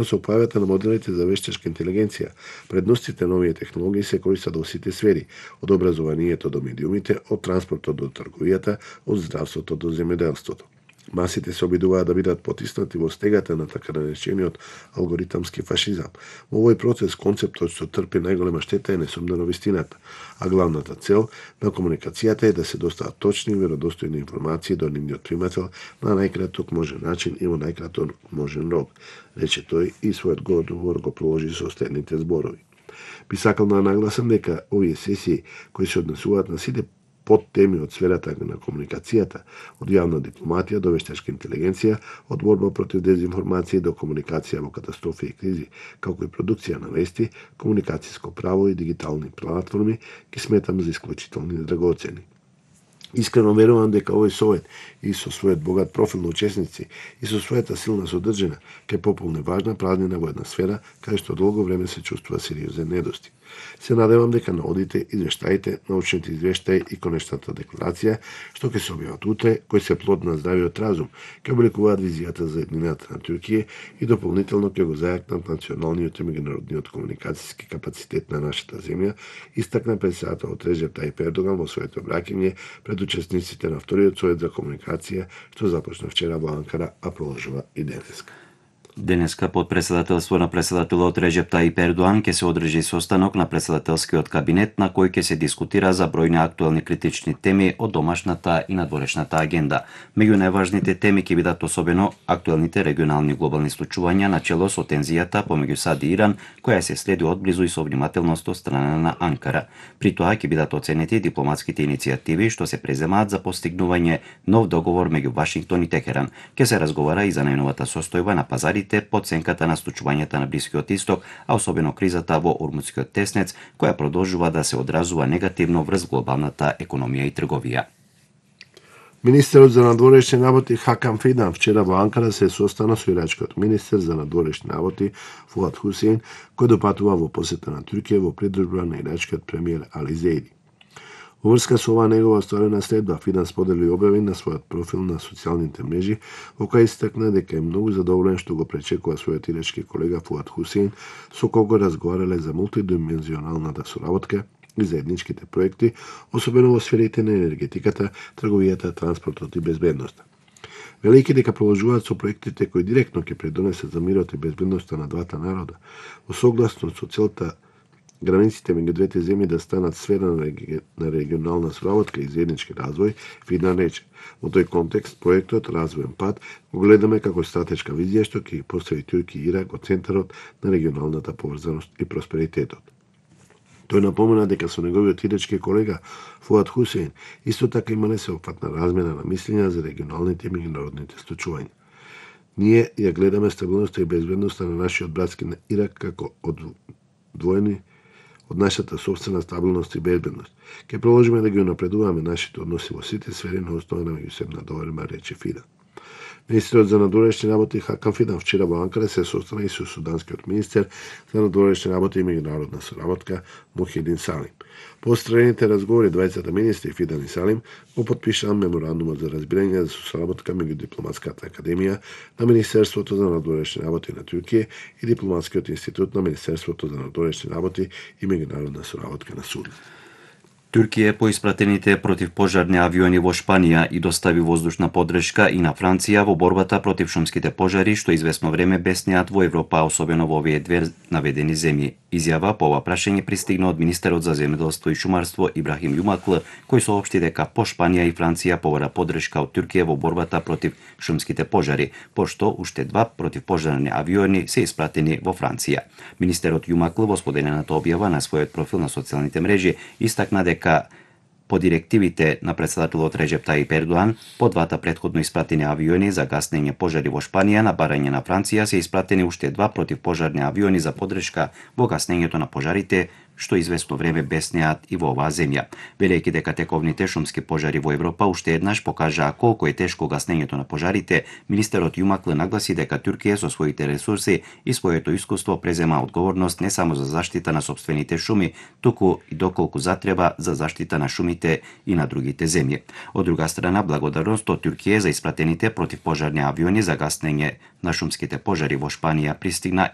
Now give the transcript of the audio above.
Со појавата на моделите за вештачка интелигенција, предностите на овие технологии се користат во сите сфери, од образованието до медиумите, од транспортот до трговијата, од здравството до земјоделството. Масите се обидуваат да бидат потиснати во стегата на така наречениот алгоритамски фашизам. Во овој процес концептот што трпи најголема штета е несумнено вистината, а главната цел на комуникацијата е да се достават точни и веродостојни информации до нивниот примател на најкраток можен начин и во најкраток можен рок, рече тој и својот одговор го проложи со следните зборови. Би сакал да нагласам дека овие сесии кои се однесуваат на сите под теми од сферата на комуникацијата, од јавна дипломатија до вештачка интелигенција, од борба против дезинформација до комуникација во катастрофи и кризи, како и продукција на вести, комуникацијско право и дигитални платформи, ги сметам за исклучителни и драгоцени. Искрено верувам дека овој совет и со својот богат профил на учесници и со својата силна содржина ќе пополни важна празнина во една сфера каде што долго време се чувствува сериозен недостиг. Се надевам дека наодите, извештаите, научните извештаи и конечната декларација, што ќе се објават утре, кои се плод на здравиот разум, ќе обликуваат визијата за еднината на Туркија и дополнително ќе го зајакнат националниот и меѓународниот комуникацијски капацитет на нашата земја, истакна председателот Реджеп Тајип Ердоган во своето обраќање пред учесниците на вториот совет за комуникација, што започна вчера во Анкара, а продолжува и денеска. Денеска под председателство на председателот Реджеп Тајип Ердоган ќе се одржи состанок на председателскиот кабинет на кој ќе се дискутира за бројни актуелни критични теми од домашната и надворешната агенда. Меѓу најважните теми ќе бидат особено актуелните регионални глобални случувања начело со тензијата помеѓу САД и Иран, која се следи одблизу и со внимателност од страна на Анкара. При тоа ќе бидат оценети дипломатските иницијативи што се преземаат за постигнување нов договор меѓу Вашингтон и Техеран. Ќе се разговара и за најновата состојба на пазарите по оценката на случувањата на Блискиот Исток, а особено кризата во Ормутскиот теснец, која продолжува да се одразува негативно врз глобалната економија и трговија. Министерот за надворешни работи Хакан Фидан вчера во Анкара се состана со ирачкиот министер за надворешни работи Фуад Хусейн, кој допатува во посета на Туркија во придружба на ирачкиот премиер Али Зейди. Во врска со оваа негова осторена следба, Фидан сподели објави на својот профил на социјалните мрежи, во која истакна дека е многу задоволен што го пречекува својот ирачки колега Фуад Хусейн, со кого разговарале за мултидимензионалната соработка и заедничките проекти, особено во сферите на енергетиката, трговијата, транспортот и безбедноста. Велики дека продолжуваат со проектите кои директно ќе придонесат за мирот и безбедноста на двата народа, во согласно со целта границите меѓу двете земји да станат сфера на регионална соработка и заеднички развој, Фидан рече. Во тој контекст, проектот Развоен пат го гледаме како стратешка визија што ќе постави Туркија и Ирак во центарот на регионалната поврзаност и просперитетот. Тој напомена дека со неговиот ирачки колега Фуад Хусейн исто така имале сеопфатна размена на мислења за регионалните и меѓународните случувања. Ние ја гледаме стабилноста и безбедноста на нашиот братски на Ирак како одвоени од нашата собствена стабилност и безбедност. Ке продолжиме да ги унапредуваме нашите односи во сите сфери на основа на меѓусебна доверба, рече Фидан. Министерот за надворешни работи Хакан Фидан вчера во Анкара се состана и со суданскиот министер за надворешни работи и меѓународна соработка Мухидин Салим. По остраните разговори двајцата министри Фидан и Салим го потпишаа меморандумот за разбирање за соработка меѓу Дипломатската академија на Министерството за надворешни работи на Туркија и Дипломатскиот институт на Министерството за надворешни работи и меѓународна соработка на Судан. Туркија по испратените противпожарни авиони во Шпанија и достави воздушна поддршка и на Франција во борбата против шумските пожари, што известно време беснеат во Европа, особено во овие две наведени земји. Изјава по ова прашање пристигна од министерот за земјоделство и шумарство Ибрахим Јумакл, кој соопшти дека по Шпанија и Франција побара поддршка од Туркија во борбата против шумските пожари, пошто уште два противпожарни авиони се испратени во Франција. Министерот Јумакл во споделената објава на својот профил на социјалните мрежи истакна дека по директивите на председателот Реджеп Тајип Ердоган, по двата претходно испратени авиони за гаснење пожари во Шпанија на барање на Франција се испратени уште два противпожарни авиони за поддршка во гаснењето на пожарите, што известно време беснеат и во оваа земја. Велејќи дека тековните шумски пожари во Европа уште еднаш покажаа колку е тешко гаснењето на пожарите, министерот Јумакле нагласи дека Туркија со своите ресурси и своето искуство презема одговорност не само за заштита на сопствените шуми, туку и доколку затреба за заштита на шумите и на другите земји. Од друга страна, благодарност од Туркија за испратените противпожарни авиони за гаснење на шумските пожари во Шпанија пристигна